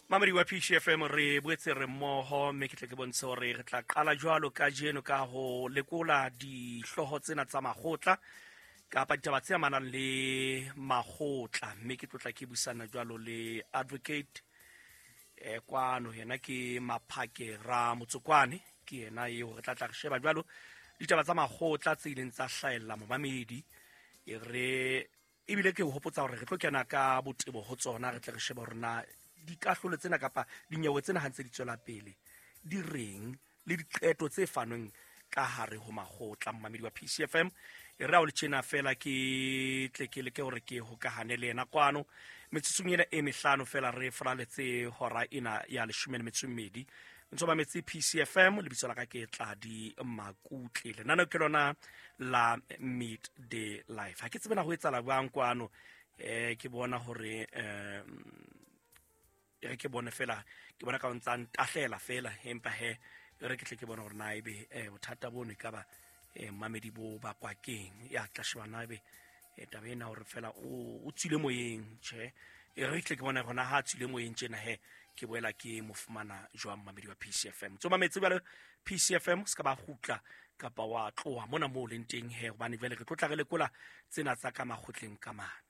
Mamedi wa PCFM, re boetse re mmoho, mme ke tle ke bontshe hore re tla qala jwalo kajeno ka ho lekola dihlooho tsena tsa makgotla kapa ditaba tse amanang le makgotla, mme ke tlotla ke busana jwalo le advocate kwano. Yena ke Maphake ra Motsokwane, ke yena eo re tla tla re sheba jwalo ditaba tsa makgotla tse ileng tsa hlahella momamedi. E re ebile ke hopotsa hore re tlo kena ka botebo ho tsona, re tle re shebe hore na dikahlolo tsena kapa dinyewe tsena ha ntse di tswela pele di reng le diqeto tse fanweng ka hare ho makgotla. Mmamedi wa PCFM, e re ha o le tjena fela ke tle ke leke hore ke hokahane le yena kwano metsotsong ena e mehlano fela re foraletse hora ena ya 12. Ntse ba metse PCFM, lebitso la ka ke Tladi Makutle, lenaneo ke lona la Midday Life. Ha ke tsebe na ho etsahala jwang kwano. Ke bona hore e re ke bone fela, ke bona ka o ntsa ntahlela fela, empa he e re ke tle ke bone hore na ebe bothata bono e ka ba mamedi bo bakwa keng. Ya tla sheba na ebe taba ena hore fela o tswile moyeng. Tjhe, e re tle ke bone hore na ha a tswile moyeng tjena he ke boela ke mo fumana jwang. Mamedi wa PCFM, tso mametse jwale PCFM, se ka ba kgutla kapa wa tloha mona moo leng teng he, hobane jwale re tlo tla re lekola tsena tsa ka makgotleng ka mane.